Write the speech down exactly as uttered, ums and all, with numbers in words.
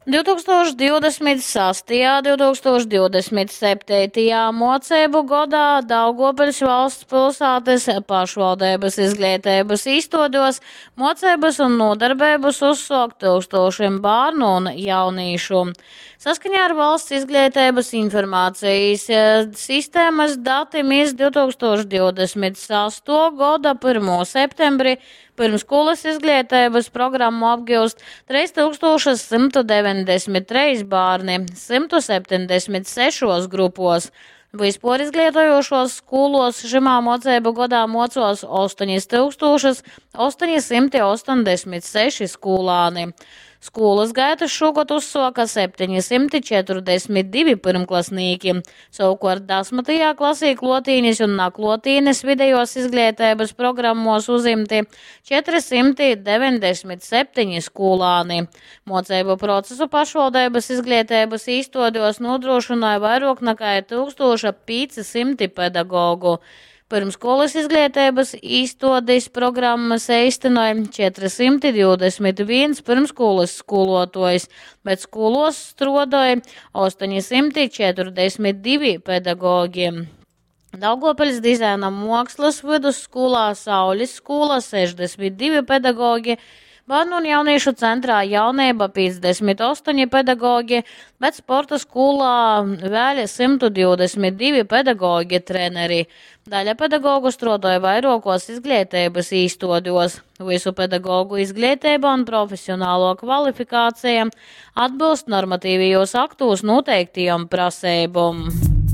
divtūkstoš divdesmit sastajā, divtūkstoš divdesmit septeitajā muoceibu godā Daugovpiļs valsts pilsātys pašvaldeibys izgleiteibys īstuodēs muoceibys un nūdarbeibys uzsuok tyukstūšim bārnu un jaunīšu. Saskaņā ar Valsts izgleiteibys informacejis sistemys datim iz divtūkstoš divdesmit sastuo goda pyrmū septembri pyrmsskūlys izgleiteibys programmu apgiust treis tyukstūšys symtu deveņdesmit treis bārni symtu septeņdesmit sešuos grupuos. Vyspuorizgleitojūšuos skūluos šymā muoceibu godā muocuos ostonis tyukstūšys ostoni symti ostoņdesmit seši skūlāni. Skūlys gaitys šūgod uzsuoka septeni symti četrudesmit divi pyrmklasnīki. Sovukuort dasmytajā klasī kluotīnis un nakluotīnis videjuos izgleiteibys programmuos uzimti četri symti deveņdesmit septeni skūlāni. Muoceibu procesu pašvaldeibys izgleiteibys īstuodēs nūdrūšynoj vairuok nakai tyukstūša pīci symti pedagogu. Pyrmsskūlys izgleiteibys īstuodis programmys eistynoj četri symti divdesmit vīns pyrmsskūlys skūluotuojs, bet skūluos struodoj ostoni symti četrudesmit divi pedagogi. Daugovpiļs dizaina muokslys vydusskūlā Saulis skūla sešdesmit divi pedagogi, Bārnu un jaunīšu centrā Jaunība piecdesmit ostoni pedagogi, bet sporta skolā vēļ symtu divdesmit divi pedagogi treneri. Daļa pedagogu struodoja vairuokos izgleiteibys īstuodēs. Vysu pedagogu izgleiteiba un profesionaluo kvalifikāceja atbylst normatīvajos aktos noteiktajom praseibom.